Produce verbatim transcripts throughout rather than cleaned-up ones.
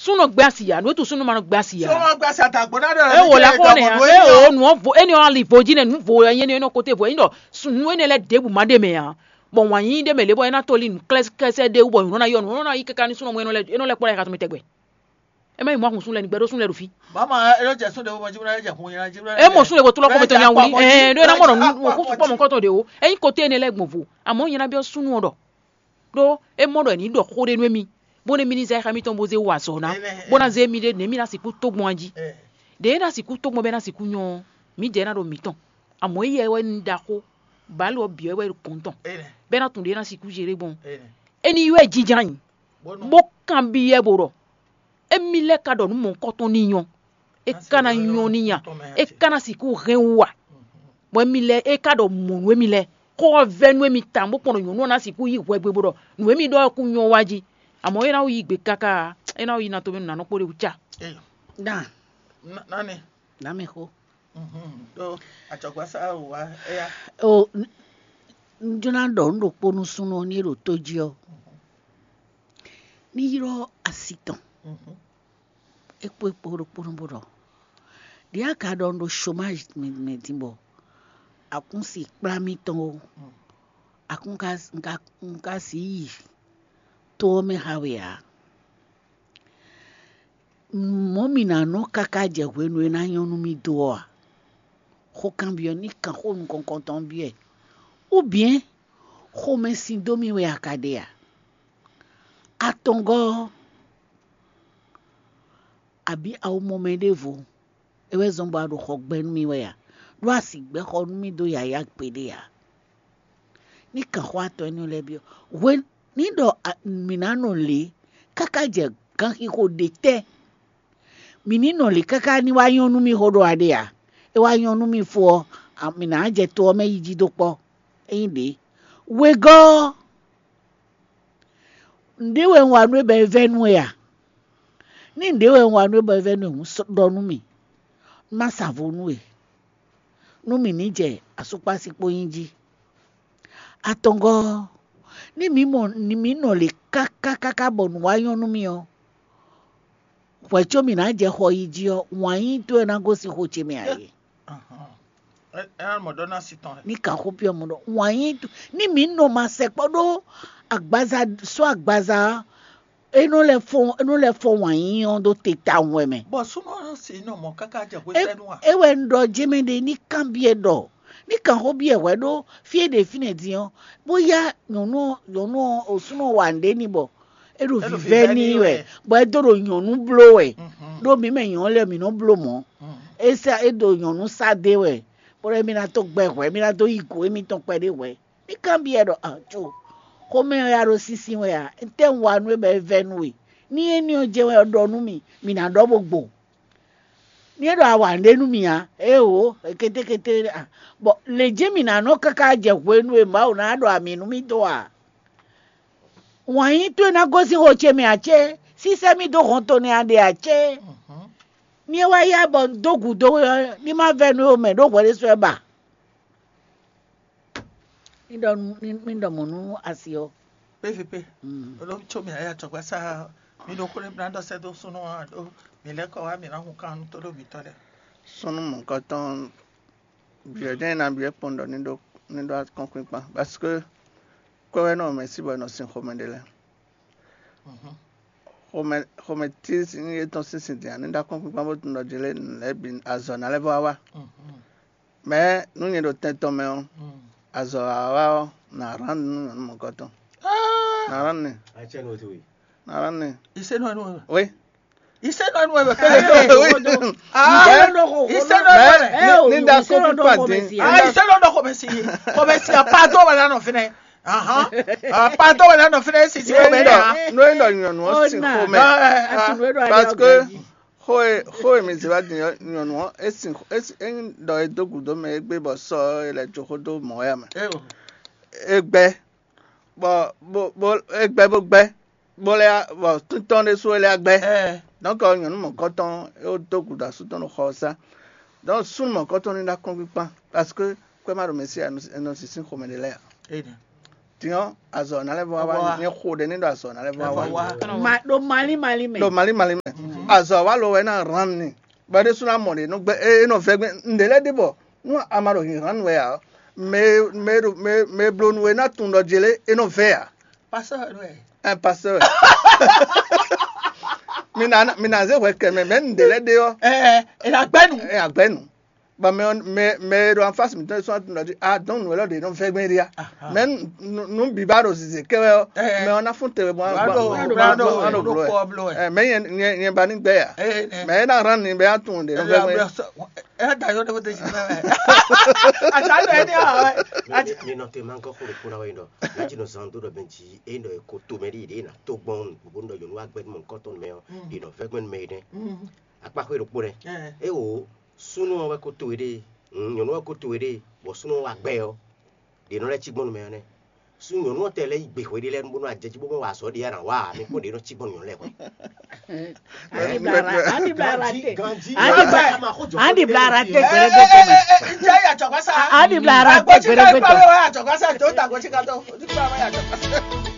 Súnnu gbé asi ya, nǔ e tu súnnu ma nɔ gbé asi ya. Sɔmɔ gba sa ta gbɔn na ɖe. E wò la xɔ ne ya, e o nǔ vo, e ni ɔ ali vo jí ne, nǔ vo yɛ nyɛ ne nɔ kote vo yin ɖɔ nǔ ene lɛ ɖěbǔ ma ɖe mɛ ya. Bɔ wǎn yí ɖe mɛ lě bɔ é ná toli nǔ klɛ́sɛ́ ɖé wú bɔ nǔ nɔ ná yɔ, nǔ nɔ ná yí káká ní súnnu mɛ e nɔ lɛ, e nɔ lɛ kpɔ́ ɖo xatɔ́ mɛ tɛgbɛ. É má yi mɔ ahun súnnu lɛ ní gbɛɖó súnnu lɛ ɖo fí. Mama, e lɔ jɛ sún ɖe wo ma jí bla jɛ hun yɛn jí bla. E mɔ súnnu lɛ ko tlɔ kɔmɛ tɔn nya wuli. Ɛɛ ɖó e ná mɔ ɖɔ nǔ kú sukpɔ mɔ kɔtɔn ɖe o. Eyin kote ne lɛ gbɔn vo. Amɔ nyɛ ná biɔ súnnu ɔ ɖɔ ɖó é mɔ ɖɔ è ní ɖɔ xó ɖé nú émí, bó nú émí ní zɛ xá mítɔn bó zé wa azɔ̌ ná, bó ná zé émí ɖé nǔ émí ná sixú tó gbɔn jí. Ɖě é ná sixú tó gbɔn bɔ é ná sixú nyɔ ɔ́, mǐdɛɛ ná ɖo mǐtɔn. Amɔ̌ éyɛ́ wɛ ní ɖaxó, bǎlu ɔ́ bǐ wɛ wɛ ɖo kɔn tɔn, bɔ é ná tunwun ɖě é ná sixú zé ɖé gbɔn. É ní ywɛ́ jínjɔ́n ayǐ, bó kanbyɔ́ ɛ bó ɖɔ: Émí lɛ́ɛ ka ɖɔ nǔ mɔ̌hunkɔtɔn n'i nyɔ́, é ka ná nyɔ́ n'i nya, é ka ná sixú hɛn wú a? Bɔ émí lɛ́ɛ é ka ɖɔ mɔ̌ nú émí lɛ́ɛ, xó ɔ́ vɛ́ nú émí tawun bó kpɔ́n ɖɔ nyɔ̌nu ɔ́ ná sixú yí hwɛgbe bó ɖɔ nǔ e mì ɖɔ ɔ́ kún nyɔ́ wá jí. Amɔ̌ é ná yi gbe káká, é ná yi ná tomɛ nú nanɔ kpó ɖé wú cá. Dan, Nani? Nǎ mɛ xó. Mhm. Ɖó acɔgbasá wá éya. O, n- n jló ná ɖɔ nǔ ɖokpó nú súnnu ɔ́ ní é ɖo tó jí ɔ́, ní ylɔ́ asi tɔn. Mhm. É kpó é kpó ɖokpónɔ bó ɖɔ: Ɖě a ka ɖɔ un ɖo chômage mɛ, mɛ din bɔ a kún si kplá mì tɔn ó, a kún ka, un ka, un ka si yi to ɔ́ mɛ xa we ǎ. Mɔ̌ mǐ ná nɔ káká jɛ hwenu e ná nyɔ́ nú mì dó ɔ́ a? Xó kanbyɔ́ ní kan xó nukɔn tɔn byɔ́ ɛ. Ou bien xomɛsin dó mì wɛ a ka ɖe a? Atɔngɔ́ ɔ́, abǐ a ko mɔ mɛ ɖěvo, é wɛ zɔ́n bɔ a ɖo xɔ gbɛ nú mì wɛ a? Ɖó a sixú gbɛ́ xɔ nú mì dó yǎyá gbeɖé ǎ. Ní kan xó atɔn énɛ́ lɛ́ɛ byɔ́. Hwe ní ɖɔ a- mǐ ná nɔ lě káká jɛ ganxixo ɖě tɛ́? Mǐ ní nɔ lě káká ní wá nyɔ́ nú mì xó ɖɔ a ɖe a? É wá nyɔ́ nú mì fó ɔ́, a- mǐ ná jɛ to ɔ́ mɛ yi jí dó kpɔ́. Ényí ɖě, wegɔ́ ɔ́, nǔɖé wɛ un wa nú we bɔ é vɛ́ nú we a? Ní nǔɖé wɛ un wa nú we bɔ é vɛ́ nú we hǔn, sɔ́ ɖɔ nú mì, má sa vo nú we, nú mǐ ní jɛ asúkpási kpó nyí jí. Atɔngɔ́ ɔ́, ní mǐ mɔ ní mǐ nɔ lě káká káká bɔ nǔ wá nyɔ́ nú mì ɔ́, hwɛ̌ có mǐ ná jɛ xɔ yi jí ɔ́, wǎn yíyí towe ná gosín xo ce mɛ ǎ é. Ahɔn. Ɛ ɛ ná mɔ ɖɔ ná si tɔn lɛ. Ní kan xó byɔ́ mɔ ɖɔ wǎn yíyí towe, ní mǐ nɔ ma sɛkpɔ́ ɖó agbaza sɔ́ agbaza ɔ́, é nɔ lɛ́ fɔ é nɔ lɛ́ fɔ wǎn yíyí ɔ́ ɖó te tawun wɛ mɛ. Bɔ súnɔ si nɔ mɔ káká jɛ hwe É- sɛnu a. É wɛ un ɖɔ jémɛ ɖe ní kanbyɔ́ ɖɔ ní kan xó byɔ́ hwɛ ɖó fí e ɖe fínɛ́ din ɔ́, bóyá nyɔ̌nu ɔ́ nyɔ̌nu ɔ́ osúnɔ wa nǔɖé n'i bɔ é ɖo É ɖo vǐvɛ́ vǐvɛ́ n'i n'i wɛ, wɛ. Bɔ é dó ɖo nyɔ̌nu bló wɛ. Mhm. Ɖó mǐ mɛ nyɔ̌nu lɛ́ɛ mǐ nɔ bló mɔ̌. Mhm. É sá é ɖo nyɔ̌nu sá dé wɛ, bó ɖɔ émí ná dó gbɛ hwɛ̌, émí ná dó yi gǔ émítɔn kpɛɖé hwɛ̌. Ní kanbyɔ́ ɖɔ ajo, xomɛ ɔ́ ya ɖo sínsín wɛ a? Ntɛ́ un wa nú we bɔ é vɛ́ nú we? Ní éní ɔ́ jɛ́n wɛ ɖɔ nú mì, mǐ ná ɖɔ bó gbo. Ní é ɖɔ a wa nǔɖé nú mì ǎ, éeǒ, kétékété a, bɔ lě jɛ́n mǐ ná nɔ káká jɛ hwenu e Mawu ná ɖɔ amǐ nú mì dó a? Wǎn yí towe ná gosín xo ce mɛ ǎ cé? Sísɛ́ mì dó hɔn to nɛ́ a ɖe ǎ cé? Ní é wá yá bɔ un dó gǔdo we ɔ́, ní má vɛ́ nú we mɛ ɖó hwɛ ɖésú wɛ ba? Ní ɖɔ nú ní ní ɖɔ mɔ̌ nú asi ɔ́. Pé fí pé. Mm. Olómi tso mi ayé àtɔ̀gbá sá mi ɖo xó ɖé bla ɖɔ sɛ́ dó súnú ɔ́ ɖó mi lɛ́ kɔ wá mi ná hun kan nú tó ɖo mi tɔ́ lɛ́ɛ. Súnú mɔ̌kɔtɔn byɔ̌ jɛ́n ná byɔ́ kpɔ́n ɖɔ ní ɖó ní ɖó akɔ́nkpinkpan, parce que kwɛ́ wɛ nɔ mɛ sí bɔ è nɔ sin xomɛ ɖé lɛ́ɛ. Mhm. Xomɛ xomɛ tí sin é tɔn sín sin din ní ɖó akɔ́nkpinkpan bó tunwun ɖɔ jǐ lé nǔ lɛ́ɛ bǐ azɔ̌ ná lɛ́ vɔ wá wá. Mhm. Mɛ nú nyɛ ɖo tɛn tɔn mɛ ɔ́, Mm. Azɔ̌ wá wá ɔ́, nǎ rán nú nyɔ̌nu mɔ̌kɔtɔn. Ah! Nǎ rán nɛ. Atsɛ nɔ to we. Nǎ rán nɛ. Iṣẹ́ náà nù ẹ̀. Oui. Iṣẹ́ náà nù ẹ̀ bẹ̀ Eh, kẹ́lẹ́. Oui. Odo. Ah, Bẹ́ẹ̀, iṣẹ́ náà nù ẹ̀. Bẹ́ẹ̀, ní ní da kó pípa dín. Ah, iṣẹ́ náà dọ̀ kò bẹ̀ sí. Kò bẹ̀ sí. Apá tó wà lánàá fínẹ́. Ahán. Apá tó wà lánàá fínẹ́ sì sí kò bẹ̀ Nú yà. Nú ẹ̀ dọ̀ nyɔ̀nù ɔ́ sì Ọ̀nà. Xó mẹ́. Ah, eh, ah. Àti nú ẹ̀ dọ̀ Parce que xó e xó e mi zě wá din ɔ́, nyɔ̌nu ɔ́, é sin é sin é nyí ɖɔ é dó gǔdo mɛ égbé bɔ sɔ ɔ́, é lɛ́ jó xó dó mɔ̌ wɛ mɛ. Eh, oh. É gbɛ́ bɔ bó bó é gbɛ́ bó gbɛ́ bó lɛ́ bɔ títɔn ɖésú é lɛ́ gbɛ́. Eh. Donc nyɔ̌nu mɔ̌kɔtɔn é dó gǔdo asú tɔn ɖo xɔ ɔ́ sá. Donc súnnu mɔ̌kɔtɔn ní ɖó akɔ́nkpinkpan parce que kwɛ́ má ɖo mɛ sí ɛ nɔ sísín xomɛ ɖé lɛ́ɛ ǎ. Eh, din ɔ́, azɔ̌ ná lɛ́ vɔ wá Vɔ wá. Ní xo ɖé ní ɖo azɔ̌ ná lɛ́ vɔ Vɔ wá. Wá. Ma ɖo malí malí mɛ. Ɖo malí malí mɛ. Azɔ̌ wa lo wɛ ná hlan ni, bɔ é ɖésú ná mɔ ɖě nɔ gbɛ́ é nɔ vɛ́ gbɛ́ nǔɖé lɛ́ɛ ɖe bɔ nú a ma ɖo hǐnhán nú wɛ ǎ ɔ́, mɛ e mɛ e ɖo mɛ e mɛ e bló nú we ná tunwun ɖɔ jlé é nɔ vɛ́ ǎ. Pasteur wɛ. Ɛ pasteur. Mi ná mi ná zé hwɛ kɛ mɛ mɛ nǔɖé lɛ́ɛ ɖe ɔ́. Ɛ ɛ ná gbɛ́ nǔ. Ɛ agbɛ́ nǔ. Bɔ mɛ ɔ́ mɛ mɛ e ɖo anfási mǐtɔn e sɔ́ tunwun ɖɔ jí a dɔn nǔ élɔ́ ɖě nɔ vɛ́ gbɛn ɖi a. Mɛ nú bǐ ba ɖo zǐzé kɛ wɛ ɔ́, mɛ ɔ́ ná fún te webɔ ná gba ná ɖo bló ɛ. Mɛ nyɛ nyɛ nyɛ ba ní gbɛ ya. Mɛ é ná hrán ni bɛ á tunwun ɖě nɔ vɛ́ gbɛn. Ɛ da yɔ ɖe ko te si mɛ. Ata ɖo ɛni a wɛ. Ni nɔ te ma gɔ xo ɖokpo na wɛ ɖɔ. Lati nɔ zan do ɖɔ bɛn ji e nɔ ko to mɛ ɖi ɖe na to gbɔn gbogbo nɔ yɔnu wa gbɛ mɔ kɔtɔn mɛ ɔ. Ɖi nɔ vɛ gbɛn mɛ ɖe. Akpa xwe ɖokpo nɛ. E o sunu wɛ ko to ɖe. Nyɔnu wɛ ko to ɖe. Bɔ sunu wa gbɛ ɔ. Ɖe nɔ lɛ ci gbɔn mɛ ɔ nɛ. Su nyɔnu ɔ́ tɛ lɛ́ yi gbe hwe ɖé lɛ́ɛ bónú ajɛjí bó mɔ wa azɔ̌ ɖé ya ná wa ǎ, mi kpɔ́n ɖě nɔ cí gbɔn nyɔ̌nu lɛ́ɛ hwɛ. Andi bla rate. Andi bla rate gbɛrɛgbɛ tɔn. Andi bla rate gbɛrɛgbɛ tɔn.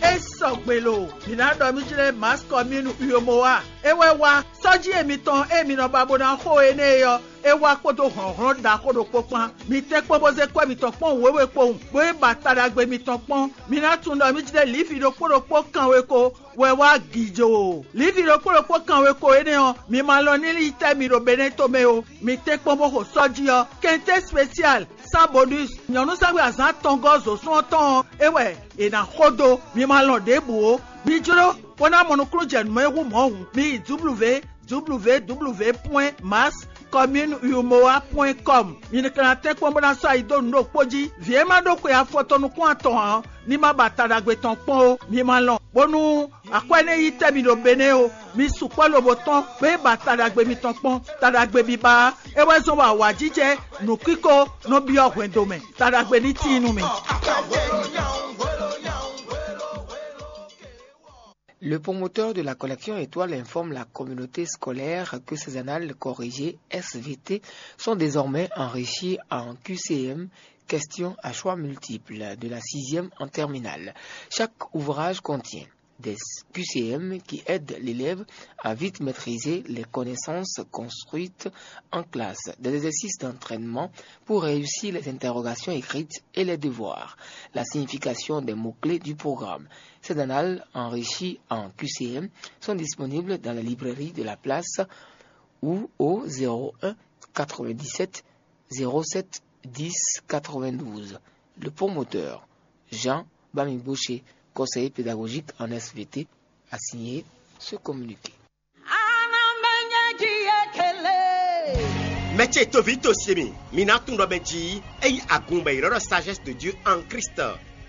E sɔgbe lo, mǐ ná ɖɔ mí jlɛ́ Mass Commune Uyomo wa. É wɛ wá sɔ́jí e mitɔn e mi nɔ ba bó ná xo énɛ́ é ɔ́, é wá kpódó hlɔ̌nhlɔ́n ɖaxó ɖokpó kpán. Mi tɛ́nkpɔ́n bó zé kwɛ́ mitɔn kpɔ́n wěwe kpowun, bó yi ba ta ɖagbe mitɔn kpɔ́n. Mi ná tunwun ɖɔ mí jlɛ́ Livi ɖokpó ɖokpó kanwe ko wɛ wá gǐjoo. Livi ɖokpó ɖokpó kanwe ko énɛ́ ɔ́, mi ma lɔn ní yi tɛ́ mi ɖo Benɛ́to mɛ ó. Mi tɛ́nkpɔ́n bó xo sɔ́ jí ɔ́, kɛntɛ́ spesial, sans bonus, nyɔ̌nu sɛ́xwé azǎn atɔngɔ́ zǒsún ɔ́ tɔn ɔ́, é wɛ è nǎ xo dó. Mi ma lɔn ɖěbǔ ó. Mi jló bó ná mɔ nukúnnú jɛ nǔ e hú mɔ̌ hǔn, mi yi www www point mass commune umoa point com. Mi ka ná tɛ́nkpɔ́n bó ná sɔ́ ayi dó nǔ ɖokpó jí. Vǐ e ma ɖó xwe afɔtɔn nukún atɔn ǎ ɔ́, ní ma ba ta ɖagbe tɔn kpɔ́n ó. Mi ma lɔn, bónú akwɛ́ ní yi tɛ́ mi ɖo Benɛ́ ó. Mi sukpɔ́ lobo tɔ́n, bó yi ba ta ɖagbe mitɔn kpɔ́n. Ta ɖagbe biba ɔ́, é wɛ zɔ́n bɔ awǎjijɛ nǔkíko nɔ byɔ́ hwɛndo mɛ. Ta ɖagbe ní tíin nú mi. Le promoteur de la collection Étoile informe la communauté scolaire que ces annales corrigées S V T sont désormais enrichies en Q C M, questions à choix multiples de la sixième en terminale. Chaque ouvrage contient des Q C M qui aident l'élève à vite maîtriser les connaissances construites en classe, des exercices d'entraînement pour réussir les interrogations écrites et les devoirs, la signification des mots-clés du programme. Ces annales enrichies en Q C M sont disponibles dans la librairie de la place ou au zéro un quatre-vingt-dix-sept zéro sept dix quatre-vingt-douze. Le promoteur, Jean Bamigboche, conseiller pédagogique en S V T, a signé ce communiqué. Mɛ ce toví to se mi, mi ná tunwun ɖɔ mɛ jí é nyí agun bɔ è ylɔ́ ɖɔ sagesse de Dieu en Christ.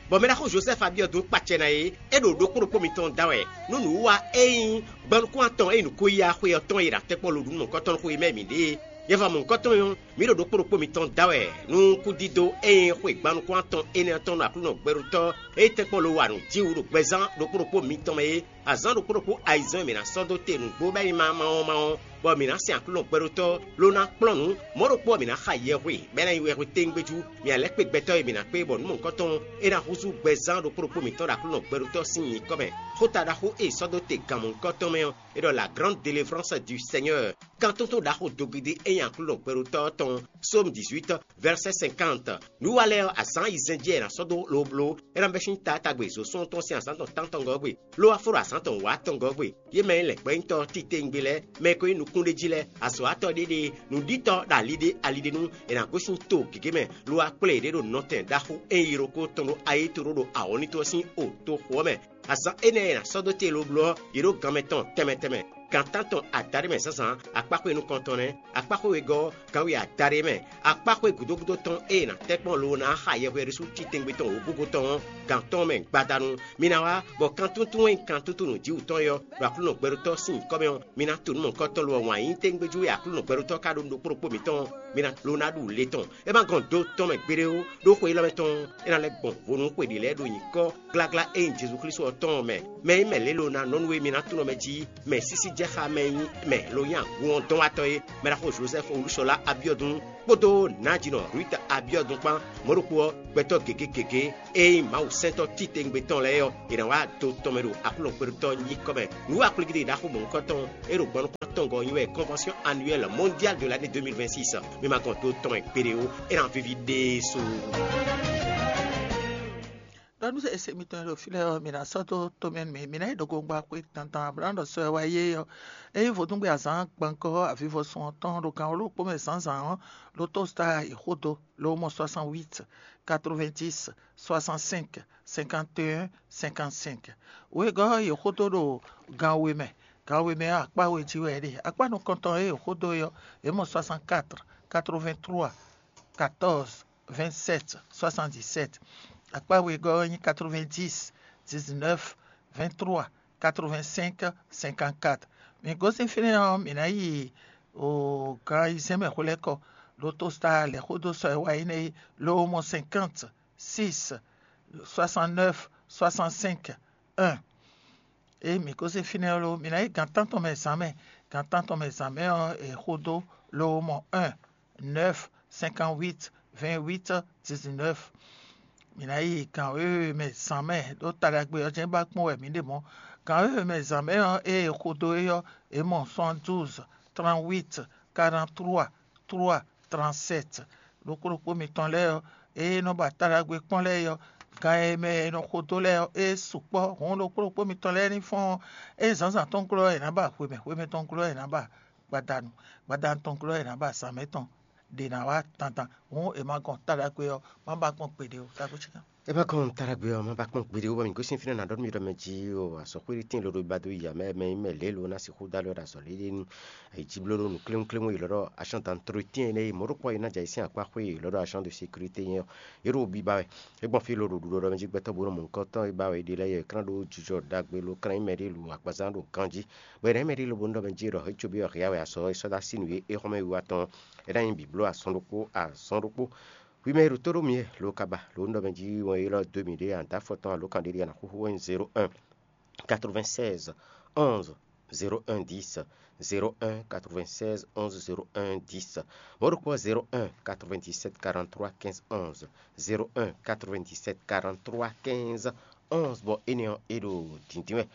Bɔ mɛ ɖaxó Joseph abyɔ́ dó kpacɛ ná é, é ɖo ɖokpó ɖokpó mitɔn da wɛ nú nǔwiwa e nyí gbɔnukún atɔn e nyí nǔkó yá xwe ɔ́ tɔn e ɖo atɛ́kpɔ́ lo ɖu nú mɔ̌hunkɔtɔn xwe mɛ mǐ ɖe é. Yɛva mɔ̌hunkɔtɔn ɔ́, mǐ ɖo ɖokpó ɖokpó mitɔn da wɛ nú kúdídó e nyí xwe gbannukún atɔn énɛ́ ɔ́ tɔn ɖo Aklúnɔ gbɛɖótɔ́ e tɛ́nkpɔ́n lo wa nǔ jí wú ɖo gbɛzán ɖokpó ɖokpó mitɔn mɛ é. Azǎn ɖokpó ɖokpó ayizɛ́n e mǐ ná sɔ́ dó te nǔgbó bɔ é nyí mawɔmawɔ, bɔ mǐ ná sɛn Aklúnɔ gbɛɖótɔ́ ló ná kplɔ́n nǔ. Mɔ̌ ɖokpó ɔ́, mǐ ná xa yɛhwe, bɔ é ná nyí wɛhwe téŋgbéjú. Mǐ ná lɛ́ kpe gbɛtɔ́ e mǐ ná kpé bɔ nǔ mɔ̌hunkɔtɔn é ná húzú gbɛzán ɖokpó ɖokpó mǐtɔn ɖo Aklúnɔ gbɛɖótɔ́ sín nyǐkɔ mɛ. Xóta ɖaxó e è sɔ́ dó te gan mɔ̌hunkɔtɔn mɛ ɔ́, é ɖɔ la grande délivrance du Seigneur. Kantúntún ɖaxó dogidi e nyí Aklúnɔ gbɛɖótɔ́ ɔ́ tɔn, Psaume dix-huit, verset cinquante. Nǔ wa lɛ́ɛ ɔ́, azǎn ayizɛ́n jí wɛ è nǎ sɔ́ dó lobló, é ná bɛ́ sín taátagbe zǒsɔ́n tɔn sín azǎn tɔn tántɔngɔ́ gbe, ló wá fó ɖo azǎn tɔn wǎtɔngɔ́ gbe. Yě mɛ e nyí lɛ̌ngbɛ́nyítɔ́ titewungbe lɛ́ɛ, mɛ e ko nyí nukúnɖéjí lɛ́ɛ, azɔ̌watɔ́ ɖéɖée, nǔɖítɔ́ ɖo ali ɖé ali ɖé nu, è nǎ gosín to gěgé mɛ, lo wá kplé yěɖée ɖo nɔtɛn ɖaxó e nyí yilókó tɔn ɖo ayéto ɖó ɖo awɔ̌nítɔ́ sín o toxo ɔ́ mɛ. Azǎn énɛ́ e è nǎ sɔ́ dó te lobló ɔ́, yě ɖo gan mɛ tɔn tɛnmɛ tɛnmɛ. Gan tántɔn adaɖé mɛ zǎnzǎn, akpáxwé nukɔntɔn nɛ́, akpáxwé wegɔ́ ɔ́, ganwe adaɖé mɛ, akpáxwé gǔdógúdó tɔn e è nǎ tɛ́ kpɔ́n lobo ná xa yɛhweɖésú titɛngbé tɔn wǒgúngún tɔn ɔ́, gan tɔn mɛ gbadanu. Mi ná wá, bɔ kantúntún e nyí kantúntún nǔjíwǔtɔn é ɔ́, ɖo Aklúnɔ gbɛɖótɔ́ sín nyǐkɔ mɛ ɔ́, mi ná to nǔ mɔ̌hunkɔtɔn lo ɔ́ wǎn yíyí tégbéjú e Aklúnɔ gbɛɖótɔ́ ka ɖó nú ɖokpó ɖokpó mǐtɔn ɔ́, mi ná lo ná ɖu le tɔn. É ma gɔn do tɔn mɛ gbeɖé ó, ɖó xwe élɔ́ mɛ tɔn ɔ́, é ná lɛ́ gbɔn vo nú xwe ɖě lɛ́ɛ ɖo nyǐkɔ gláglá e nyí Jezu Klísu ɔ́ tɔn ɔ́ mɛ. Mɛ e nyí mɛ lě lo ná nɔ nú we mi ná tunwun mɛ jí, mɛ sísí jɛ xa mɛ e nyí mɛ lo nyí agun ɔ́ dɔn wá tɔn é, mɛ ɖaxó Jozɛ́fu Olúṣɔlá Abiɔdun kpódó nǎjinɔ Ruth Abiɔdun kpán, mɔ̌ ɖokpó ɔ́, gbɛtɔ́ gěgé gěgé e nyí Mawu sɛntɔ́ titewungbe tɔn lɛ́ɛ ɔ́, è nǎ wá do tɔn mɛ ɖo Aklúnɔ kpɛɖutɔ́ nyíkɔ mɛ. Nǔ aklúgídí ɖaxó mɔ̌hunkɔtɔn e ɖo gbɔn nukɔn atɔngɔ́ ɔ́ nyí wɛ Convention Annuelle Mondiale de l'année deux mille vingt-six. Mi ma gɔn do tɔn mɛ gbeɖé ó, é ná víví ɖésú. Ɖɔ nú ese mitɔn e ɖo fí lɛ́ɛ ɔ́, mi ná sɔ́ dó tomɛ nú mì. Mi ná yi ɖo gongba xwé dandan ablaɖɔ sɔ e wá yé ɔ́. Ényí vodúngbe azǎn gbɔnkɔ avivɔsun ɔ́ tɔn ɖo gan wǒ ɖokpó mɛ zǎnzǎn ɔ́, ɖo tósta yi xódo, lo mɔ soixante-huit, quatre-vingt-dix, soixante-cinq, cinquante et un, cinquante-cinq. Wegɔ́ yi xódo ɖo gan we mɛ. Gan we mɛ ɔ́, akpá we jí wɛ é ɖe. Akpá nukɔntɔn e yi xódo é ɔ́, é mɔ soixante-quatre, quatre-vingt-trois, quatorze, vingt-sept, soixante-dix-sept. Akpá wegɔ́ ɔ́ nyí quatre-vingt-dix, dix-neuf, vingt-trois, quatre-vingt-cinq, cinquante-quatre. Mi gosín fínɛ́ ɔ́, mǐ ná yi o gan ayizɛ́n mɛ hwelɛ́kɔ, ɖó tósta lɛ̌xódó sɔ e wá yi nɛ́ é, lo mɔ cinquante, six, soixante-neuf, soixante-cinq, un. Ée mǐ gosín fínɛ́ ɔ́, lo mǐ ná yi gan tántɔn mɛ zǎn mɛ. Gan tántɔn mɛ zǎn mɛ ɔ́, è xódó lo mɔ un, neuf, cinquante-huit, vingt-huit, dix-neuf. Mǐ ná yi gan wěwe mɛ zǎn mɛ ɖó ta ɖagbe ɔ́ jɛ́n ba kpɔ́n wɛ mǐ ɖe mɔ̌. Gan wěwe mɛ zǎn mɛ ɔ́, ée è xo dó é ɔ́, è mɔ soixante-douze, trente-huit, quarante-trois, trois, trente-sept. Ɖokpó ɖokpó mitɔn lɛ́ɛ ɔ́, ée nɔ ba ta ɖagbe kpɔ́n lɛ́ɛ é ɔ́, gan e mɛ è nɔ xo dó lɛ́ɛ ɔ́, é sukpɔ́. Hǔn ɖokpó ɖokpó mitɔn lɛ́ɛ ní fɔ́n ɔ́, ée zǎnzǎn tɔn glɔ́ ɔ́, è nǎ ba hwemɛ, hwemɛ tɔn glɔ́ ɔ́, è nǎ ba gbadanu, gbadanu tɔn glɔ́ ɔ́, è nǎ ba zǎn mɛ tɔn. Ɖě ná wá dandan. Hǔn è ma gɔn ta ɖagbe ɔ́, má ba gbɔn gbeɖé ó. Tagbó cíkan. É ma gɔn ta ɖagbe ɔ́, má ba kpɔ́n gbeɖé ó, bɔ mǐ gosín fínɛ́ ná ɖɔ nú mi ɖɔ mɛ jí o, azɔ̌xwé ɖé tíin loɖo ba dó ya mɛ, mɛ nyí mɛ lě lo ná sixú dó alɔ ɖo azɔ̌ lě ɖé nu. Ayǐjíblóɖó nǔkléwúnkléwún e lɔ́ ɖɔ agent d'entretien énɛ́ e mɔ̌ ɖokpó ɔ́ é ná jɛ ayǐ sín akpá xwé e lɔ́ ɖɔ agent de sécurité nyɛ ɔ́, é ɖo biba wɛ. É gbɔn fí loɖo ɖuɖɔ ɖɔ mɛ jí gbɛtɔ́ bó nɔ mɔ nukɔn tɔn e ba wɛ è ɖe lɛ́ɛ é, é ká ná ɖó jijɔ ɖagbe lo ká ná nyí mɛɖé lo agbaza ɖo ganjí. Bɔ è nǎ nyí mɛɖé lobo nú ɖɔ mɛ jí ɖɔ é cóbí ɔ́ hia wɛ azɔ̌ e sɔ́ dó así nǔ e é xɔ́mɛ wiwa tɔn ɔ́, é ná nyí bǐbló azɔn ɖokpó azɔn ɖokpó. Hwi mɛ e ɖo tó ɖó mì e lo ka ba lo nú ɖɔ mɛ jí wɛn élɔ́ dó mì ɖé a nǎ dó afɔ tɔn alo kan ɖé ɖé a nǎ xúxú wɛ nyí zéro un, quatre-vingt-seize, onze, zéro un dix, zéro un quatre-vingt-seize onze zéro un dix. Mɔ̌ ɖokpó zéro un quatre-vingt-dix-sept quarante-trois quinze onze, zéro un quatre-vingt-dix-sept quarante-trois quinze onze, bɔ énɛ́ ɔ́, é ɖo dǐndín wɛ.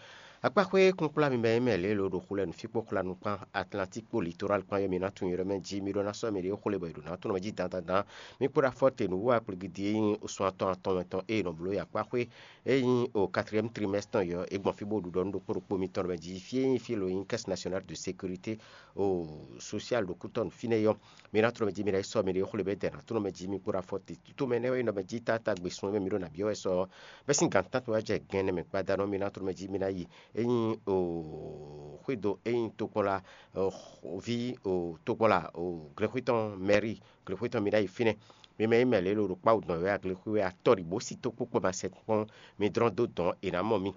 Akpáxwé kúnkplá mi mɛ e mɛ lě lo ɖo xu lɛ́ɛ nǔfíkpó xwla nukpán Atlantík kpó Litoral kpán ɔ́, mi ná tunwun yě ɖɔ mɛ jí mi ɖó ná sɔ́ mɛ ɖě xwlé bɔ è ɖo ná tunwun mɛ jí dandandan. Mi kpo ɖo afɔ te nǔ wú akpligi din e nyí sun atɔn atɔn mɛ tɔn e è nɔ bló yi akpáxwé e nyí o quatrième trimestre tɔn yɔ, é gbɔn fí bó ɖu ɖɔ nú ɖokpó ɖokpó mitɔn ɖɔ mɛ jí fí e nyí fí lo nyí Caisse Nationale de Sécurité o sociale ɖo kútɔ́ nǔ fínɛ́ yɔ. Mi ná tunwun mɛ jí mi ná yi sɔ́ mi ɖě xwlé bɔ é dɛ ná tunwun mɛ jí mi kpo ɖo afɔ te. Tutomɛ nɛ́ wɛ nɔ mɛ jí táta gbe sun e mɛ mi ɖo nǎ byɔ́ wɛ sɔ ɔ́, bɛ́ sín gan tántɔn wá jɛ gɛn nɛ mɛ gbadanu ɔ́, mi ná tunwun mɛ jí mi ná yi. É nyí o xwédo é nyí tokpɔnla, ví o tokpɔnla o glexwé tɔn mɛri, glexwé tɔn mi ná yi fínɛ́. Mi mɛ nyí mɛ lě lo ɖo kpáwú dɔn wɛ aglexwé wɛ atɔ́ ɖi bó sí tó kpókpó ma sɛ kpɔ́n, mi dlɔ́n dó dɔn è nǎ mɔ mi.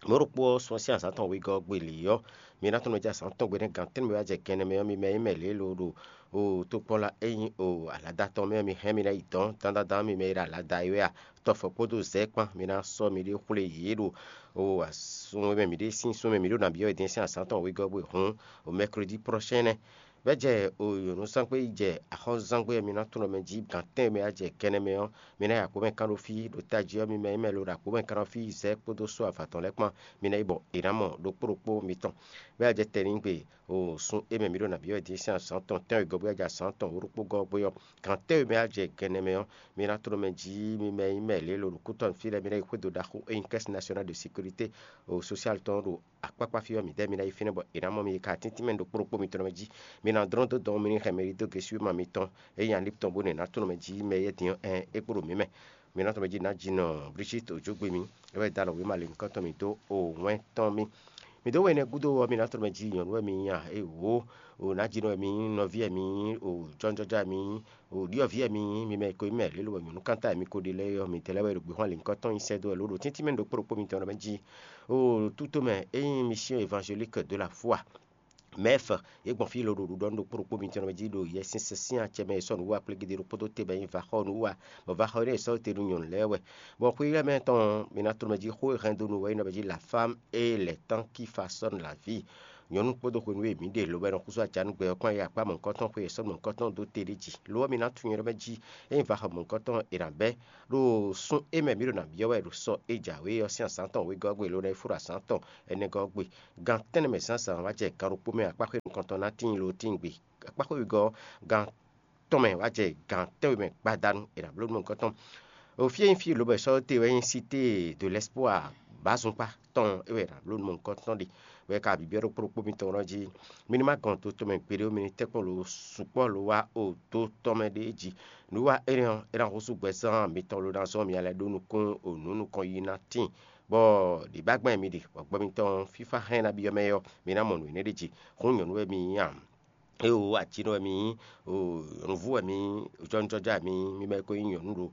Mɔ̌ ɖokpó ɔ́ sɔ́ sín azǎn tɔn wegɔ́ ɔ́ gbe lě ɔ́, mi ná tunwun mɛ jí azǎn tɔn gbe nɛ́ gan tɛ́nwe wá jɛ gɛnɛ mɛ ɔ́, mi mɛ nyí mɛ lě lo ɖo o tokpɔnla e nyí o alada tɔn mɛ ɔ́, mi hɛn mi ná yi dɔn dandandan, mi mɛ e ɖo alada e wɛ a, tɔfɔ kpódó zɛ̌ kpán, mi ná sɔ́ miɖée xwlé yě ɖo o sun e mɛ miɖée sín sun e mɛ mǐ ɖo nǎ byɔ́ wɛ din sín azǎn tɔn wegɔ́ gbe hǔn, o mɛklódi prochain nɛ́. Bɛ́ jɛ o nyɔ̌nuzángbe yi jɛ axɔ́núzángbe e mi ná tunwun mɛ jí gan tɛ́nwe mɛ wá jɛ gɛnɛ mɛ ɔ́, mi ná yi agbǒmɛ kán ɖó fí ɖo tají ɔ́, mi mɛ nyí mɛ lo ɖo agbǒmɛ kán ɖó fí zɛ̌ kpódó só avatɔn lɛ́ɛ kpán, mi ná yi bɔ è nǎ mɔ ɖokpó ɖokpó mitɔn. Bɛ́ jɛ tɛnigbe o sun e mɛ mi ɖo nǎ byɔ́ wɛ din sín azǎn tɔn tɛ́nwe gɔ́ bó jɛ azǎn tɔn wǒ ɖokpó gɔ́ gbé ɔ́, gan tɛ́nwe mɛ wá jɛ gɛnɛ mɛ ɔ́, mi ná tló mɛ jí mi mɛ nyí mɛ lě lo ɖo kútɔ́ fí lɛ́ɛ, mi ná yi xwédo ɖaxó e nyí Caisse Nationale de Sécurité o Sociale tɔn ɖo akpákpá fí ɔ́, mi dɛ́ mi ná yi fínɛ́ bɔ è nǎ mɔ mi yi ka tíntín mɛ ɖokpó ɖokpó mitɔn mɛ jí. Mi ná dlɔ́n dó dɔn mi ní hɛn mɛ ɖidó gesúma mitɔn e nyí alíptɔn bó nɛ ná tló mɛ jí mɛ yɛ́ din ɔ́, ɛn é kpo ɖo mǐ mɛ. Mi ná tló mɛ jí ná ji nɔ Brigitte Ojógbe mi, é wɛ da alɔ wěma lěhunkɔtɔn mi dó o wɛn tɔn mi. Mi dó wɛn énɛ́ gúdo ɔ́, mi ná tló mɛ jí nyɔ̌nu wɛ mi nyí a? Éwo, o nǎjínɔ wɛ mi nyí, nɔví wɛ mi nyí, o jɔ́njɔ́já wɛ mi nyí, o ɖyɔ̌vǐ wɛ mi nyí, mi mɛ e ko nyí mɛ lě lo wɛ nyɔ̌nukántá wɛ mi ko ɖe lɛ́ɛ ɔ́, midɛɛ lɛ́ɛ wɛ ɖo gběxwan lěhunkɔtɔn nyi sɛ́ dó wɛ lǒ ɖo tíntín mɛ ɖokpó ɖokpó mitɔn mɛ jí. O tútomɛ é nyí Mission Évangélique de la Foi, mɛf, é gbɔn fí lo ɖo ɖuɖɔ nú ɖokpó ɖokpó mitɔn mɛ jí ɖo Yɛsinsɛn sín acɛ mɛ e sɔ́ nǔ wú akplégídé ɖokpó dó te bɔ é nyí vaxɔ́nú wú a, bɔ vaxɔ́nú e sɔ́ te nú nyɔ̌nu lɛ́ɛ wɛ. Bɔ xwé lɛ́ɛ mɛ tɔn, mi ná tló mɛ jí xó e hɛn dó nú wɛ é nɔ mɛ jí la femme et les temps qui façonnent la vie. nyɔ̌nu kpódó hwenu e mǐ ɖe lobo e nɔ xúzú ajanúgbɛ ɔ́ kpán yi akpá mɔ̌hunkɔtɔn xwe e sɔ́ mɔ̌hunkɔtɔn dó te ɖé jí. Lo ɔ́, mi ná tunwun nyɛ ɖɔ mɛ jí, ényí va xɔ mɔ̌hunkɔtɔn è nǎ bɛ́ ɖo sun e mɛ mǐ ɖo nǎ byɔ́ wɛ ɖo sɔ e jǎwe ɔ́ sín azǎn tɔn wegɔ́ ɔ́ gbe, lo ná yi fó ɖo azǎn tɔn ɛnɛgɔ́ ɔ́ gbe. Gan tɛ́nnɛ mɛ zǎnzǎn wá jɛ gan ɖokpó mɛ akpáxwé nukɔntɔn ná tíin lo tíin gbe. Akpáxwé wegɔ́ ɔ́, gan tɔn mɛ wá jɛ gan tɛ́nwe mɛ gbadanu è nǎ bló nú mɔ̌hunkɔtɔn. O fí e nyí fí lobɔ è sɔ́ te wɛ nyí Cité de l'Espoir, bǎzunkpá tɔn é wɛ è nǎ bló nú mɔ̌hunkɔtɔn ɖe. Wɛ ka bǐbyɔ́ ɖokpó ɖokpó mitɔn ɔ́ jí. Mi ní ma gɔn do tɔn mɛ gbeɖé ó, mi ní tɛ́nkpɔ́n lo sukpɔ́ lo wá o do tɔn mɛ ɖé jí. Nǔwiwa énɛ́ ɔ́, é ná húzú gbɛzán mitɔn lo ná zɔ́n mi alɛ ɖó nukún o nǔ nukɔn yi ná tíin, bɔ ɖǐbágbɛ́n mi ɖe, bɔ gbɔ mitɔn fífá hɛn ná byɔ́ mɛ ɔ́, mi ná mɔ nǔ énɛ́ ɖé jí. Hǔn nyɔ̌nu wɛ mi nyí a? Éwo, ají nɔ wɛ mi nyí, nyɔ̌nuvú wɛ mi nyí, jɔ́nújɔ́já wɛ mi nyí, mi mɛ ko nyí nyɔ̌nu ɖo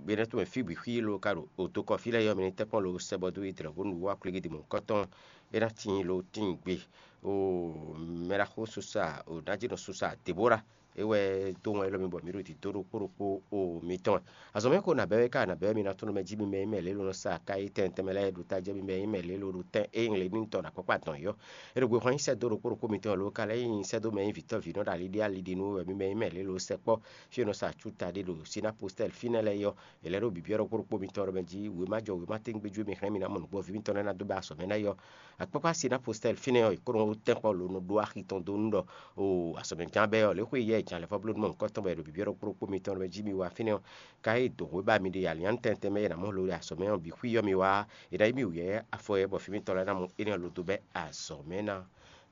bɛ́nɛ́ tɔn mɛ fí bǐ xwí lo ka ɖo oto kɔ fí lɛ́ɛ yɔ́, mi ní tɛ́nkpɔ́n lo sɛ bɔ dó yi dlɛ̌ bó nǔ wá kwlígídi mɔ̌hunkɔtɔn. É ná tíin lo tíin gbe. Mɛɖaxó Susa, nǎjínɔ Susa Debora, é wɛ dó wɛn élɔ́ mi bɔ mǐ ɖo dǐdó ɖokpó ɖokpó o mitɔn wɛ. Azɔ̌ mɛ xo nǎ bɛ́ wɛ ká nǎ bɛ́ wɛ mi ná tɔ́n nú mɛ jí mi mɛ nyí mɛ lě lo nɔ sa ka yi tɛn tɛnmɛ lɛ́ɛ ɖo tají mi mɛ nyí mɛ lě lo ɖo tɛn e nyí lě ní tɔn ɖo akpákpá dɔn yɔ. É ɖo gbe xwán nyí sɛ́dó ɖokpó ɖokpó mitɔn lo ka lɛ́ nyí sɛ́dó mɛ nyí vǐtɔ́ vǐ nɔ ɖo ali ɖé ali ɖi nú wɛ mi mɛ nyí mɛ lě lo sɛkpɔ́ fí e nɔ sa acúta ɖé ɖo Sinapostɛ́l fínɛ́ lɛ́ɛ yɔ. È lɛ́ ɖo bǐbyɔ́ ɖokpó ɖokpó mitɔn ɖɔ mɛ jí wěma jɔ wěma téŋgbéjú e mi hɛn mi ná mɔ nǔgbó ví mitɔn lɛ́ɛ ná dó bɛ́ azɔ̌ mɛ ná yɔ. Akpákpá Sinapostɛ́l fínɛ́ ɔ́, è kó nɔ tɛ́nkpɔ́ lo nɔ ɖó axi tɔn dó nú ɖɔ o azɔ̌ mɛ gán bɛ́ ɔ́, lě xwé yɛ è jan lɛ̌ vɔ́ bló nú mɔ̌hunkɔtɔn bɔ è ɖo bǐbyɔ́ ɖokpó ɖokpó mitɔn ɖɔ mɛ jí mi wá fínɛ́ ɔ́, ka e dǒ hwé ba mi ɖe alián tɛntɛn mɛ è nǎ mɔ lo ɖe azɔ̌ mɛ ɔ́ bǐ xwí ɔ́ mi wá, è nǎ yí mi wǔyɛ́ afɔ yɛ bɔ fí mitɔn lɛ́ɛ ná mɔ énɛ́ ɔ́ lo dó bɛ́ azɔ̌ mɛ ná.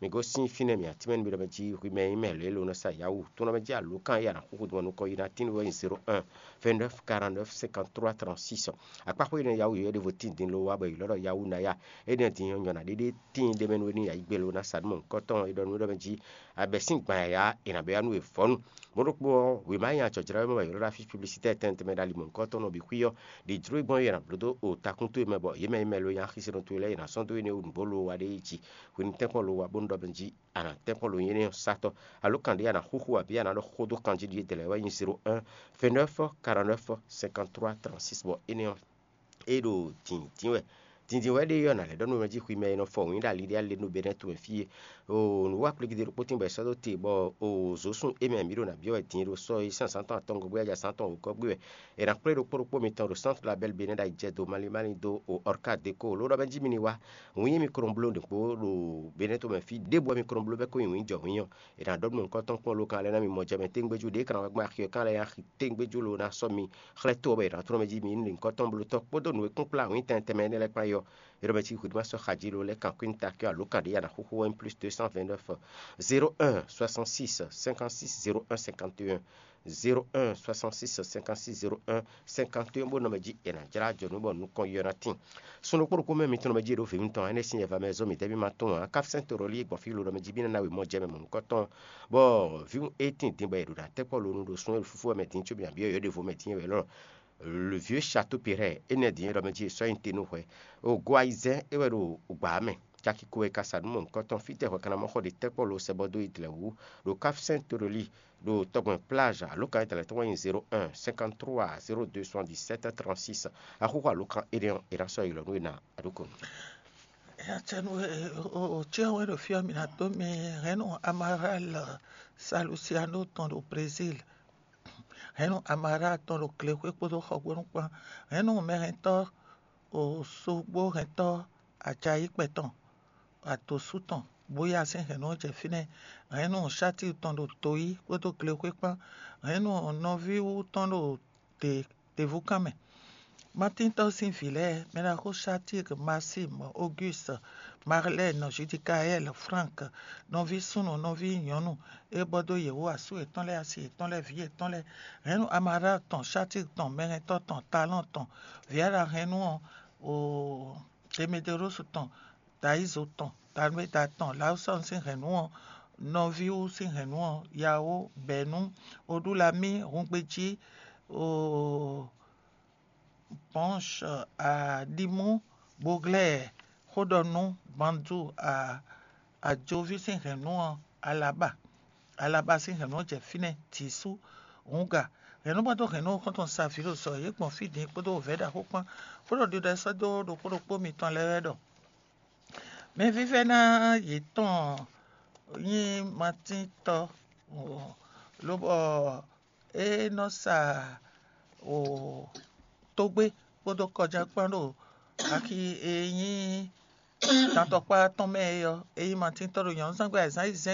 Mi gosín fínɛ́ mǐ atínmɛ nú mi ɖɔ mɛ jí hwi mɛ e nyí mɛ lě e lo nɔ sa Yawuu tó nɔ mɛ jí alǒkan e a nǎ xúxú din bɔ nukɔn yi ná tín wɛ nyí zéro un, vingt-neuf, quarante-neuf, cinquante-trois, trente-six. Akpáxwé énɛ́ Yawuu yɔ̌yɔ́ ɖěvo tíin din lo wá bɔ è ylɔ́ ɖɔ Yawuu ná ya. Énɛ́ din ɔ́, nyɔ̌ná ɖé ɖé tíin ɖ'é mɛ nú we ní yǎyí gbe lo ná sa nú mɔ̌hunkɔtɔn e ɖɔ nú we ɖɔ mɛ jí a bɛ̌ sín gban yǎyá è nǎ bɛ́ yá nú we vɔ̌nu. Mɔ̌ ɖokpó ɔ́, wěma nyanya jɔjlɔ́ e mɔ wɛ ylɔ́ ɖo afí publicité tɛntɛn mɛ ɖo ali mɔ̌hunkɔtɔn nɔ bǐ xwí ɔ́, ɖi jló e gbɔn é è nǎ bló dó o takún towe mɛ bɔ yě mɛ e mɛ lo nyí axisinɔ towe lɛ́ɛ è nǎ sɔ́ dó énɛ́ wú nǔgbó lo wa ɖé yi jí. Hwi ní tɛ́nkpɔ́n lo wa bó nú ɖɔ mɛ jí a nǎ tɛ́nkpɔ́n lo nyí énɛ́ ɔ́ sátɔ́. Alo kan ɖé a nǎ xúxú abǐ a nǎ ɖɔ xó dó kanjí ɖíe dlɛ̌ wɛ nyí zéro un, vingt-neuf, quarante-neuf, cinquante-trois, trente-six bɔ énɛ́ ɔ́, é ɖo dǐndín wɛ. Dǐndín wɛ ɖé ɔ́, nǎ lɛ́ ɖɔ nú mɛ jí hwi mɛ e nɔ fɔ wǐin ɖo ali ɖé alé nú Benɛ́ tomɛ fí é. O nǔ wa kplekide ɖokpó tín bɔ è sɔ́ dó te bɔ o zǒsun é mɛ mǐ ɖo nǎ byɔ́ wɛ din ɖo sɔ́ e sín azǎn tɔn atɔngɔ́ gbé wɛ, azǎn tɔn wǒgɔ́ gbé wɛ. È nǎ kplé ɖokpó ɖokpó mitɔn ɖo Centre Label Benɛ́ ɖo ayijɛ dó málímálí dó o Ɔrka Deko ló ɖɔ mɛ jí mi ní wá. Wǐin e mi ko nɔ bló ɖěkpo ɖo Benɛ́ tomɛ fí ɖěbǔ wɛ mi ko nɔ bló bɔ é ko nyi wǐin jɔ wǐin ɔ́, è nǎ ɖɔ nú mɔ̌hunkɔtɔn kpɔ́n lókan lɛ́ɛ ná mi mɔ jɛ mɛ tégbéjú ɖě kan wɛ gbɔn axi ɔ́ kan lɛ́ɛ nyi axi tégbéjú lo ná sɔ́ mi xlɛ́ tó ɔ́ bɔ è nǎ tlɔ́n mɛ jí mi ní lǐnkɔ́tɔn bló tɔ́ kpódó nǔ e kún kplá wǐin tɛnmɛ tɛnmɛ énɛ́ lɛ́ɛ kpán é ɔ́. É ɖɔ mɛ cí hwǐɖuma sɔ́ xa jí lo lɛ́ kan kwín takí alo kan ɖě ya ná xúxú wɛ nyí plus deux cent vingt-neuf, zéro un, soixante-six, cinquante-six, zéro un, cinquante et un, zéro un, soixante-six, cinquante-six, zéro un, cinquante et un bó nɔ mɛ jí è nǎ jlá jɔ nú bɔ nukɔn yɔ ná tíin. Sun ɖokpó ɖokpó mɛ mitɔn mɛ jí e ɖo vǐ mitɔn ǎ, énɛ́ sín yɛva mɛ zɔ́n mǐdɛɛ mì ma tunwun ǎ. Káfínsɛ́n to ɖɔ lí gbɔn fí lo ɖɔ mɛ jí bí ná ná wěmɔ jɛ mɛ mɔ̌hunkɔtɔn, bɔ vǐ e tíin din bɔ è ɖo ɖo atɛ́kpɔ́ lo nu ɖo sún e fúfú wɛ mɛ din có bǐ nǎ byɔ́ yě ɖěvo mɛ din wɛ lɔ. Le vieux Chateau Perret, énɛ́ din e ɖɔ mɛ jí è sɔ́ nyi te nú hwɛ. O go ayizɛ́n é wɛ ɖo gbǎ mɛ. Caki ko e ka sa nú mɔ̌hunkɔtɔn fítɛ́ hwɛ ka ná mɔ xɔ ɖe tɛ́kpɔ́ lo sɛ bɔ dó yi dlɛ̌ wú ɖo Káfínsɛ́n to ɖɔ lí ɖo tɔgbɛn plage alokan e tɛlɛ tɔn wɛ nyí zéro un, cinquante-trois, zéro deux, soixante-dix-sept, trente-six. Axúxú alokan énɛ́ ɔ́, è nǎ sɔ́ yi lɔ nú we ná aɖókònú. Yacɛnu, o cɛ́ wɛ ɖo fí ɔ́, mi ná dó mi hɛn nú Amaral Salusiano tɔn ɖo Brésil, hɛn nú Amaral tɔn ɖo glexwé kpódó xɔgbónu kpán, hɛn nú mɛhɛntɔ́, o sógbó hɛntɔ́ Ajayíkpɛ tɔn, adǒsú tɔn, bóyá sín hɛ̌nnu ɔ́ jɛ fínɛ́, hɛ̌nnu Sátli tɔn ɖo doyí kpódó glexwé kpán, hɛ̌nnu nɔví wú tɔn ɖo dě ɖěvúkan mɛ. Matíntɔ́ sín vǐ lɛ́ɛ: Mɛɖaxó Sátli, Masín, Ogúst, Marlɛ́n, Zudikaɛ́l, Flánk, nɔví súnnu, nɔví nyɔ̌nu, é bɔ dó yě wú asú yětɔn lɛ́ɛ, asi yětɔn lɛ́ɛ, vǐ yětɔn lɛ́ɛ, hɛ̌nnu Amalá tɔn, Sátli tɔn, mɛhɛntɔ́ tɔn, Talɔ́n tɔn, vǐ e ɖo hɛn nú ɔ́, oo, Demedewlósu tɔn, Dayízo tɔn, Talumeda tɔn, Lawusɔ́nu sín hɛ̌nnu ɔ́, nɔví wú sín hɛ̌nnu ɔ́, Yawó, Bɛ̌nu, Oɖulamí, Hungbejí, oo, Bɔ̌nsh, Aɖimú, Boglɛ́ɛ, Xóɖɔnú, Bandu, Ajoví sín hɛ̌nnu ɔ́, Alaba. Alaba sín hɛ̌nnu ɔ́ jɛ fínɛ́, Jǐsú, Hǔnga. Hɛ̌nnúgbɛ́dó hɛ̌nnu ɔ́ xɔ́ntɔn Savilósɔ, yě gbɔn fí din kpódó wǒvɛ́ ɖaxó kpán, bó ɖo ɖiɖɔ sɛ́ dó ɖokpó ɖokpó mitɔn lɛ́ɛ wɛ ɖɔ: Mɛvívɛ́ná yětɔn nyí Matíntɔ́, lobɔ é nɔ sa o tógbé kpódó kɔjá kpán ɖo axi e nyí dantɔkpá tɔn mɛ é ɔ́, é nyí Matíntɔ́ ɖo nyɔ̌nuzángbe ayǐzán ayizɛ́n